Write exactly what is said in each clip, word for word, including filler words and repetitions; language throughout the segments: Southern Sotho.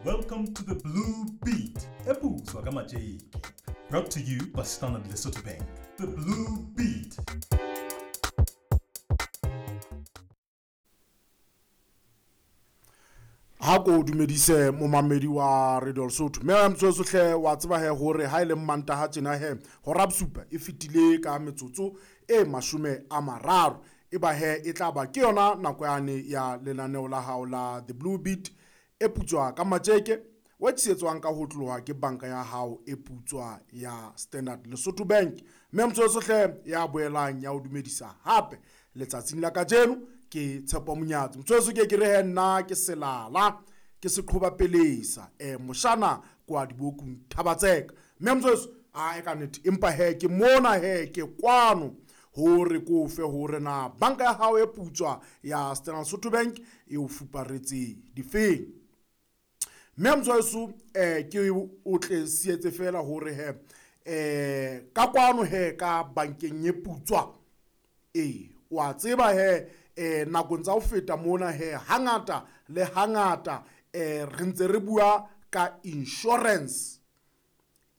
Welcome to the Blue Beat, eputswa ka matjeke. Brought to you by Standard Lesotho Bank. The Blue Beat. Ha ko dumedise momamedi wa Radio Lesotho. Mme motsoso hle wa tseba he hore ha ile Mantaha tjena he hora bosupa e fetile ka metsotso e mashome a mararo. E ba he e tla ba ke yona nako yane ya lenaneo la hao la The Blue Beat e putswa ka matjeke wa tshehetswang ka ho tloha ke banka ya hao e putswa ya Standard Lesotho Bank. Mme motsoso hle ya boelang ya o dumedisa hape letsatsing la kajeno ke Tshepo Monyatsi. Motsoso ke ke re he nna ke selala ke seqhoba pelesa eh moshana kwa dibokung Thabatseka. Mme motsoso a e ka nnete empa he ke mona he ke kwano hore ko fe hore na banka ya hao e putswa ya Standard Lesotho Bank e o fuparetse difeng. Mme motsoso eh ke o tle sietse fela hore he eh ka kwano he ka bankeng e putswa e wa tseba he eh nakong tsa ho feta mona he hangata le hangata eh re ntse re bua ka insurance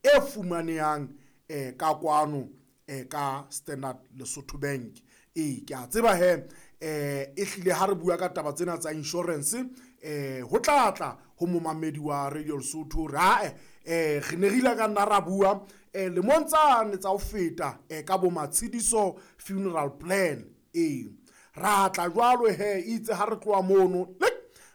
e fumanehang eh ka kwano eh ka Standard Lesotho Bank. E ke a tseba he eh e hlile ha re bua ka taba tsena tsa insurance eh ho tlatla ho momamedi wa Radio Lesotho ra eh re ne re ile ka nna ra bua eh lemong tsane tsa ho feta eh ka bo Matshidiso funeral plan. E ra tla jwalo he itse ha re tloha mono le